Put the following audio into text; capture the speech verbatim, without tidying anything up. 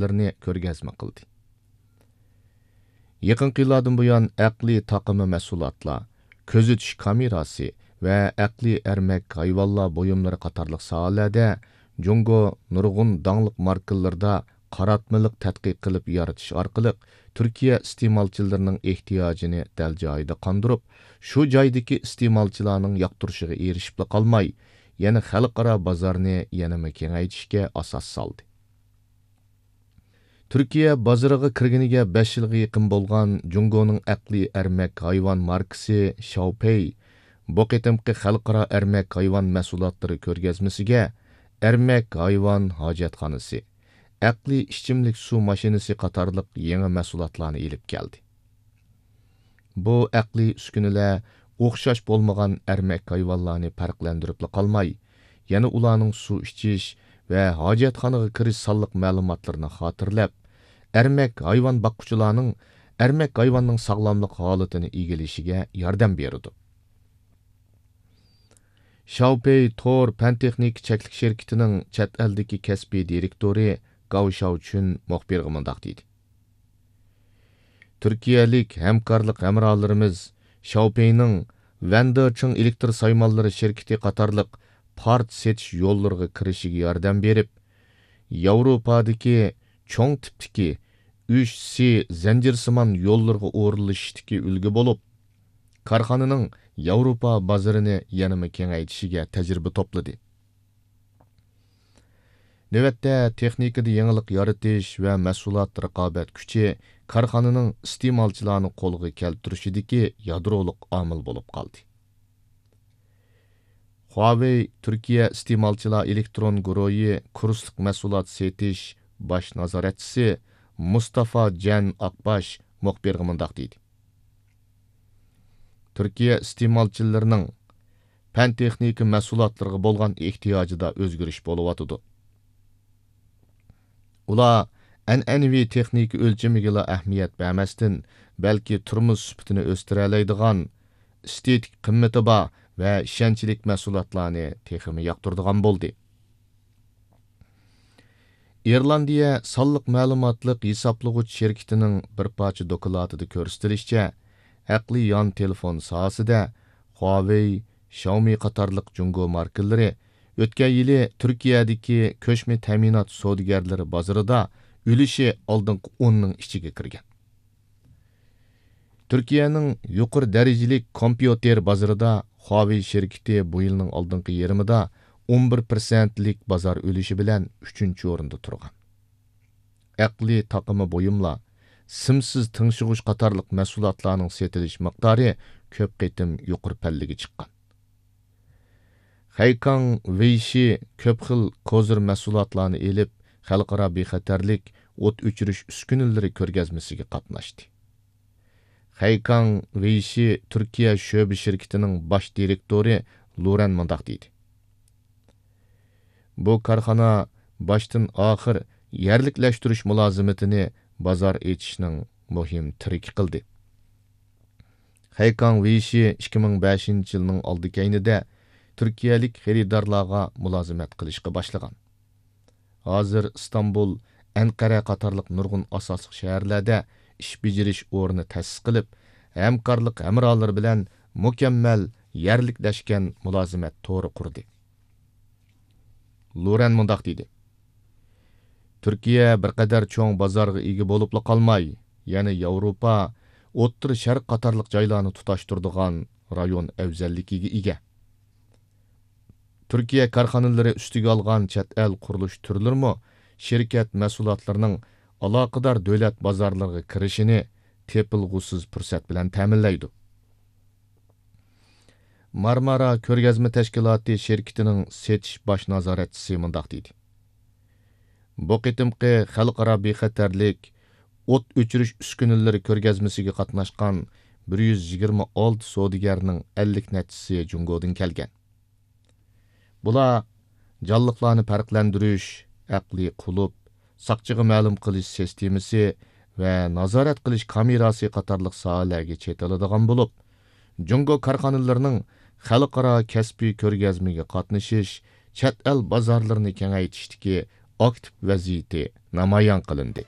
مەھسۇلاتلىرىنى كۆرگەزمە قىلدى. يېقىنقى يىللاردىن بۇيان، ئەقلىي تاقىما مەھسۇلاتلار، كۆزىتىش كامېراسى ۋە ئەقلىي ئەرمەك ھايۋانلار بۇيۇملىرى قاتارلىق ساھەلەردە جۇڭگو نۇرغۇن داڭلىق ماركىلىرىدا قاراتمىلىق تەتقىق قىلىپ يارىتىش ئارقىلىق، تۈركىيە ئىستېمالچىلىرىنىڭ ئېھتىياجىنى دەل جايىدا قاندۇرۇپ، شۇ جايدىكى ئىستېمالچىلارنىڭ ياقتۇرۇشىغا ئېرىشىپلا قالماي، يەنە خەلقئارا بازارنى يەنىمۇ كېڭەيتىشكە ئاساس سالدى. تۈركىيە بازىرىغا كىرگىنىگە بەش يىلغا يېقىن بولغان جۇڭگونىڭ ئەقلىي ئەرمەك ھايۋان ماركىسى شاۋپېي بۇ قېتىمقى خەلقئارا ئەرمەك ھايۋان مەھسۇلاتلىرى كۆرگەزمىسىگە ئەرمەك ھايۋان ھاجەتخانىسى، ئەقلىي ئىچىملىك سۇ ماشىنىسى قاتارلىق يېڭى مەھسۇلاتلارنى ئېلىپ كەلدى. بۇ ئەقلىي ئۈسكۈنىلەر ئوخشاش بولمىغان ئەرمەك ھايۋانلارنى پەرقلەندۈرۈپلا قالماي، يەنە ئۇلارنىڭ سۇ ئىچىش ۋە ھاجەتخانىغا كىرىش سانلىق مەلۇماتلىرىنى خاتىرىلەپ، ئەرمەك ھايۋان باققۇچىلارنىڭ ئەرمەك ھايۋاننىڭ ساغلاملىق ھالىتىنى ئىگىلىشىگە ياردەم بېرىدۇ. شاۋپېي تور پەن تېخنىكا چەكلىك شىركىتىنىڭ چەت ئەلدىكى كەسپىي دىرېكتورى گاۋ شاۋچۈن مۇخبىرغا مۇنداق دېدى: تۈركىيەلىك ھەمكارلىق ھەمراھلىرىمىز شاۋپېينىڭ ۋەندېرچىڭ ئېلېكتر سايمانلىرى شىركىتى قاتارلىق پارت سېتىش يوللىرىغا كىرىشىگە ياردەم بېرىپ، ياۋروپادىكى چوڭ تىپتىكى ئۈچ سى زەنجىرسىمان يوللىرىغا ئورۇنلىشىشتىكى ئۈلگە بولۇپ، كارخانىنىڭ ياۋروپا بازىرىنى يەنىمۇ كېڭەيتىشىگە تەجرىبە توپلىدى. نۆۋەتتە، تېخنىكىدا يېڭىلىق يارىتىش ۋە مەھسۇلات رىقابەت كۈچى كارخانىنىڭ ئىستېمالچىلارنى قولغا كەلتۈرۈشىدىكى يادرولۇق ئامىل بولۇپ قالدى. خۇاۋېي تۈركىيە ئىستېمالچىلار ئېلېكترون گۇرۇھى كۇرسلۇق مەھسۇلات سېتىش باش نازارەتچىسى مۇستافا جەن ئاقباش مۇخبىرغا مۇنداق دېدى: تۈركىيە ئىستېمالچىلىرىنىڭ پەن تېخنىكا مەھسۇلاتلىرىغا بولغان ئېھتىياجىدا ئۆزگىرىش بولۇۋاتىدۇ. ئۇلار ئەنئەنىۋى تېخنىكا ئۆلچىمىگىلا ئەھمىيەت بەرمەستىن، بەلكى تۇرمۇش سۈپىتىنى ئۆستۈرەلەيدىغان، ئېستېتىك قىممىتى بار ۋە ئىشەنچلىك مەھسۇلاتلارنى تېخىمۇ ياقتۇرىدىغان بولدى. ئىرلاندىيە سانلىق مەلۇماتلىق ھېسابلىغۇچ شىركىتىنىڭ بىر پارچە دوكلاتىدا كۆرسىتىلىشىچە، ئەقلىي يان تېلېفون ساھەسىدە خۇاۋېي، شاۋمى قاتارلىق جۇڭگو ماركىلىرى ئۆتكەن يىلى تۈركىيەدىكى كۆچمە تەمىنات سودىگەرلىرى بازىرىدا ئۈلۈشى ئالدىنقى ئوننىڭ ئىچىگە كىرگەن. تۈركىيەنىڭ يۇقىرى دەرىجىلىك كومپيۇتېر بازىرىدا خۇاۋېي شىركىتى بۇ يىلنىڭ ئالدىنقى يېرىمىدا ئون بىر پىرسەنتلىك بازار ئۈلۈشى بىلەن ئۈچىنچى ئورۇندا تۇرغان. ئەقلىي تاقىما بۇيۇملار، سىمسىز تىڭشىغۇچ قاتارلىق مەھسۇلاتلارنىڭ سېتىلىش مىقدارى كۆپ قېتىم يۇقىرى پەللىگە چىققان. خەيكاڭ ۋېيشى كۆپ خىل كوزىر مەھسۇلاتلارنى ئېلىپ، خەلقئارا بىخەتەرلىك ئوت ئۆچۈرۈش ئۈسكۈنىلىرى كۆرگەزمىسىگە قاتناشتى. خەيكاڭ ۋېيشى تۈركىيە شۆبە شىركىتىنىڭ باش دىرېكتورى لۇرەن مۇنداق دېدى: بۇ كارخانا باشتىن ئاخىر يەرلىكلەشتۈرۈش مۇلازىمىتىنى بازار ئېچىشنىڭ مۇھىم تىرىكى قىلدى. خەيكاڭ ۋېيشى ئىككى مىڭ بەشىنچى يىلنىڭ ئالدى كەينىدە تۈركىيەلىك خېرىدارلارغا مۇلازىمەت قىلىشقا باشلىغان. ھازىر ئىستانبۇل، ئەنقەرە قاتارلىق نۇرغۇن ئاساسلىق شەھەرلەردە ئىش بېجىرىش ئورنى تەسىس قىلىپ، ھەمكارلىق ھەمراھلىرى بىلەن مۇكەممەل يەرلىكلەشكەن مۇلازىمەت تورى قۇردى. لورەن مۇنداق دېدى: تۈركىيە بىر قەدەر چوڭ بازارغا ئىگە بولۇپلا قالماي، يەنە ياۋروپا، ئوتتۇرا شەرق قاتارلىق جايلارنى تۇتاشتۇرىدىغان رايون ئەۋزەللىكىگە ئىگە. تۈركىيە كارخانىلىرى ئۈستىگە ئالغان چەت ئەل قۇرۇلۇش تۈرلىرىمۇ شىركەت مەھسۇلاتلىرىنىڭ ئالاقىدار دۆلەت بازارلىرىغا كىرىشىنى تېپىلغۇسىز پۇرسەت بىلەن تەمىنلەيدۇ. مارمارا كۆرگەزمە تەشكىلاتى شىركىتىنىڭ سېتىش باش نازارەتچىسى مۇنداق دېدى: بۇ قېتىمقى خەلقئارا بىخەتەرلىك ئوت ئۆچۈرۈش ئۈسكۈنىلىرى كۆرگەزمىسىگە قاتناشقان بىر يۈز يىگىرمە ئالتە سودىگەرنىڭ ئەللىك نەچچىسى جۇڭگودىن كەلگەن. بۇلار جانلىقلارنى پەرقلەندۈرۈش، ئەقلىي قۇلۇپ، ساقچىغا مەلۇم قىلىش سىستېمىسى ۋە نازارەت قىلىش كامېراسى قاتارلىق ساھەلەرگە چېتىلىدىغان بولۇپ، جۇڭگو كارخانىلىرىنىڭ خەلقئارا كەسپىي كۆرگەزمىگە قاتنىشىش، چەت ئەل بازارلىرىنى كېڭەيتىشتىكى ئاكتىپ ۋەزىيىتى نامايان قىلىندى.